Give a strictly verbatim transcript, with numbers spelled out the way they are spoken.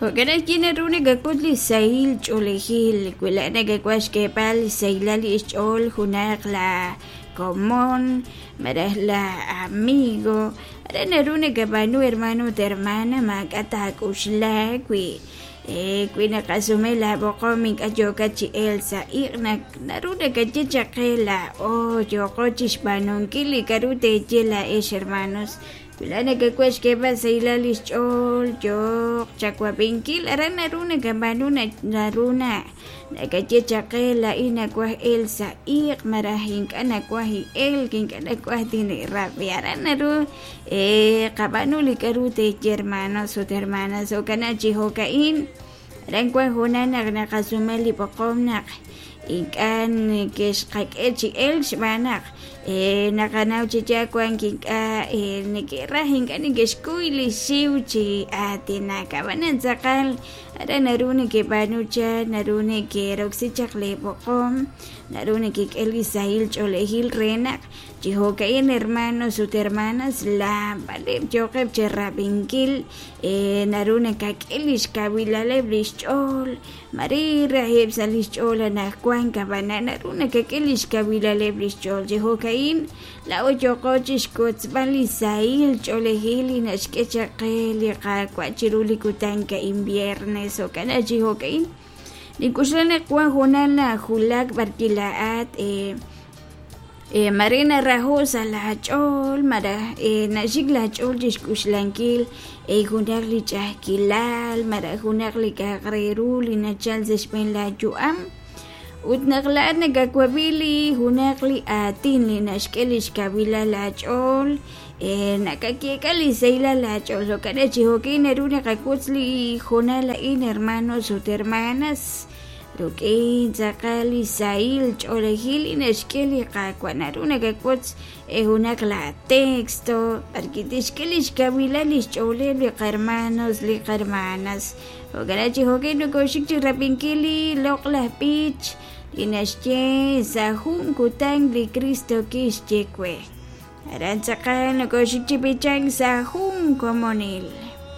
Jo'kan ajwi' naru nakak'ut li sahil ch'oolejil wi laa'at nakawaj xk'eeb'al xsahilal li xch'ool junaq la komon malaj la amigo aran naru nakab'aanu hermano ut hermana maak'a' taak'uxla wi wi naqasume laab'oqom ink'a' yookat chi elk sa' iq' naru nakaye chaq qe laa'o yooqo chixb'aanunkil li k'a'ru teeye laa'ex hermanos wi laa'at nakawaj xk'eeb'al xsahilal li xch'ool yooq chawab'inkil aran naru nakab'aanu naru na nakaye chaq qe laa'in nawaj elk sa' iq' malaj ink'a' nawaj elk ink'a' nawaj tine'rab'i aran naru qab'aanu li k'a'ru teeye hermanos ut hermanas jo'kan chi jo'ka'in aran wan hoonal naq naqasume li b'oqom naq ink'a' neke'xqak'e chi elk xb'aan naq naqanaw chi yaal wank ink'a' neke'raj ink'a' neke'xkuy li xiw chi aatinak ab'anan tz'aqal aran naru nekeb'aanu chaq naru neke'roksi chaq li b'oqom naru nekek'e li sahil ch'oolejil re naq chi jo'ka'in hermanos ut hermanas laab'aleb' yooqeb' cherab'inkil naru nakak'e li xkawilaleb' li xch'ool mare rajeb' sa' li xch'ool anaqwan ab'anan naru nakak'e li xkawilaleb' li xch'ool chi jo'ka'in laa'o yooqo chixkotzb'al li sahil ch'oolejil li naxk'e chaq qe li Qaawa' chiru li kutan ka'in viernes jo'kan chi jo'ka'in nink'uxla naq wan hoonal najulak b'arwi' laa'at mare naraho' sa' laach'ool malaj naxik laach'ool chixk'uxlankil junaq li ch'a'ajkilal malaj junaq li k'a'aq re ru li nachal sa' xb'een laayu'am ut naq laa'at nakawab'i li junaq li aatin li naxk'e li xkawilal laach'ool nakayeek'a li sahilal laach'ool jo'kan chi jo'kin naru naqak'utz li hoonal a'in hermanos ut hermanas ruk'in tz'aqal li sahil ch'oolejil li naxk'e li Qaawa' naru nakak'utz junaq la texto b'arwi' tixk'e li xkawilal li xch'ooleb' li qahermanos li qahermanas jo'kan chi jo'kin nokoxik chi rab'inkil li loq'laj b'ich li naxye sa' jun kutan li Cristo kixye we aran tz'aqal nokoxik chi b'ichank sa' jun komonil.